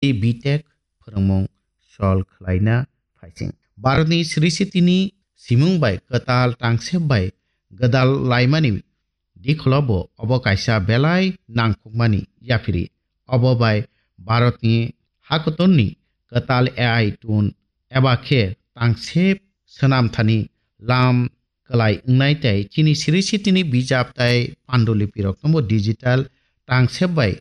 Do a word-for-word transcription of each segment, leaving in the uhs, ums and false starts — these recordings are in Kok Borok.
tei B Tech phwrwngmung sol khlaina phaising. Bharatni Sri City ni simung bai kwtal tangsep bai gwdal laimani dikholo bo obo kaisa belai nangkukmani yaphiri. Obo bai Bharatni hakotorni kwtal A I tun eba khe tangsep swnamthani lam kwlai wngnai tei chini Sri City ni bijap tei pandulipirokno bo digital tangsep bai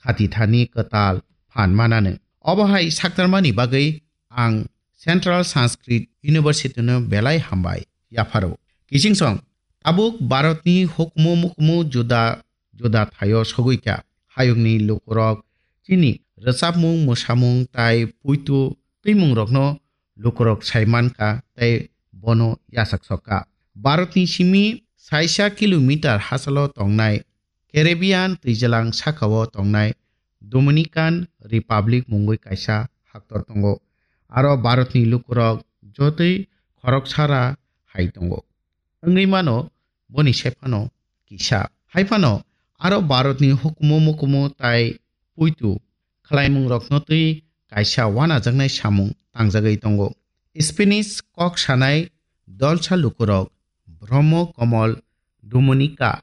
khatithani kwtal phan manano. Obo hai saktarmani bagwi ang Central Sanskrit University no belai hambai yapharo. Kiching song, tabuk Bharatni hukumu mukumu juda juda thaio sogwi kha. Hayungni lukurok chini rwchapmung, mwsamung tai puitu twimungrokno lukurok sai mankha tei bono yachak sokha. Bharatni simi saisa kilometer hachalo tongnai Caribbean twijlang sakao tongnai Dominican Republic mungwi kaisa haktor tongo. Aro Bharatni lukurok jotoi khoroksara hai tongo. Wngwi mano boni sephano kisa. Haiphano aro Bharatni hukumu mukumu tai puitu khlaimungrokno twi kaisa wanajaknai samung tangjagwi tongo. Spanish kok sanai dolsa lukurok Brahmo Komol Dominica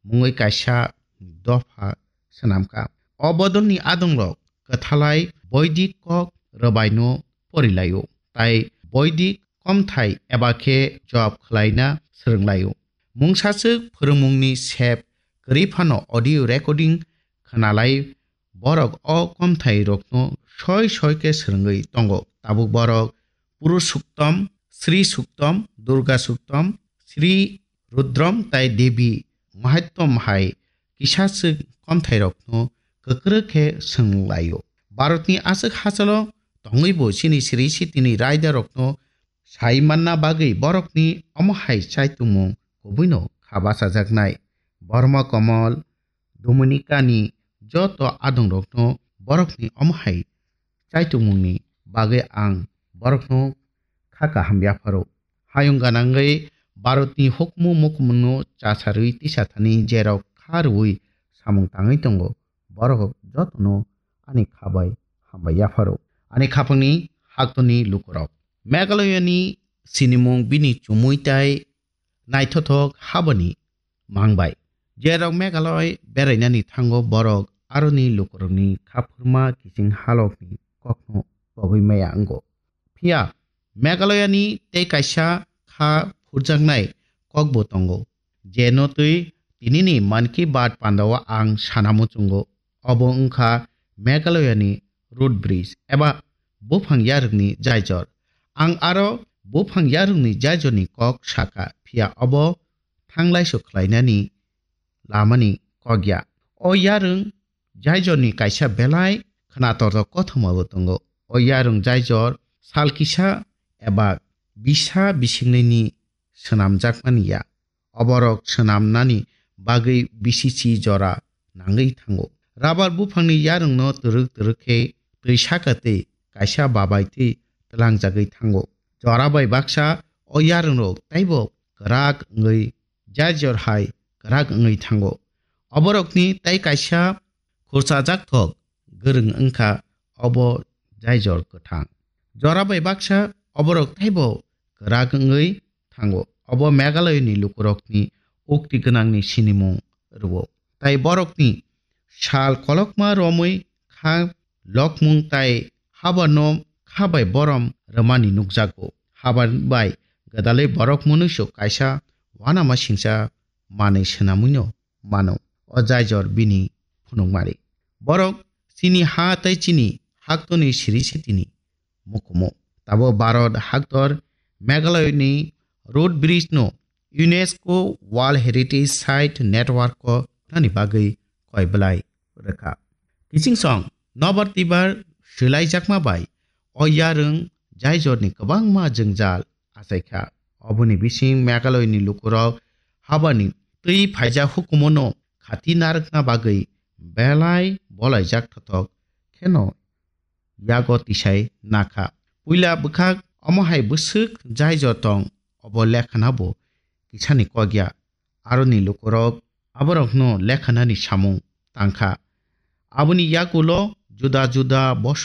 mungwi kaisa dopha swnamkha. O bodolni adongrok kwthalai Boidik kok rwbaino porilaio, tai Boidik komthai eba khe job khlaina swrwnglaio. Mungsaswk phwrwngmungni sep kwrwi phano audio recording khwnalai borok o komthairokno soi soi khe swrwngwi tongo. Tabuk borok Purusuktom, Sri Suktom, Durga Suktom, Sri Rudrom tai Devi Mahattom hai kisaswk komthairokno kwkrwk khe swnglaio. Bharatni aswk hachalo tongwibo chini Sri Sitini raidarokno sai manna bagwi borokni omo hai chaitungmung kubuino kha bachajaknai. Borma Komol, Dominicani joto adongrokno borokni omo hai chaitungmungni bagwi ang borokno kha kaham yapharo. Hayung ganangwi Bharatni hukumu mukumungno chasarwi tisathani jerok kha rwui samung tangwi tongo, borok jotono ani kha bai hambai yapharo. Ani khapangni haktoni lukurok. Meghalayani sinimung bini chumui tai naithothok habani mangbai. Jerok Meghalaya berainani thango borok aroni lukurokni khaphurma kiching halokni kokno pogwi maya wngo. Phiya Meghalayani tei kaisa kha phurjaknai kokbo tongo, je no twi tinini Mann Ki Baat pandao ang sana muchungo. Obo wngkha Meghalayani root bridge eba buphang yarwkni jaijor. Ang aro buphang yarwkni jaijorni kok sakha, phiya obo thanglaiso khlainani lamani kok ya. O yarwng jaijorni kaisa belai khwnatortok kothomabo tongo. O yarwng jaijor sal kisa eba bisa bisingnini swnamjakmani ya. Oborok swnamnani bagwi bisichi jora nangwi thango. Rabar buphangni yarwngno twrwk twrwk khe twi saka twi kaisa babai twi twlangjagwi thango. Jora bai baksa o yarwngrok taibo kwrak wngwi jaijor hai kwrak wngwi thango. Oborokni tai kaisa khurchajak thok gwrwng wngkha obo jaijor kwthang. Jora bai baksa oborok taibo kwrak wngwi thango. Obo Meghalayani lukurokni ukti gwnangni sinimung rwo. Tai borokni sal kolokma romwi kha lokmung tai habarno kha bai borom rwmani nukjago. Habar bai gwdalwi borok mwnwiso kaisa uanama singcha manwi swnamwino mano. O jaijor bini phunukmari. Borok chini ha tei chini haktoni siri sitini mukumu. Tabo Bharat haktor Meghalayani root bridge no UNESCO World Heritage Site Network o thani bagwi koi belai rwkha. Kiching song nobar tibar swlaijakma bai o yarwng jaijorni kwbangma jwngjal achaikha. Oboni bising Meghalayani lukurok habani twi phaijak hukumono khati narwkna bagwi belai bolaijak thothok kheno yago tisai nakha. Puila bwkhak omo hai bwswk jaijor tong obo lekhana bo kisani kokya. Aroni lukurok aborokno lekhanani samung tangkha. Aboni yagulo juda juda bosong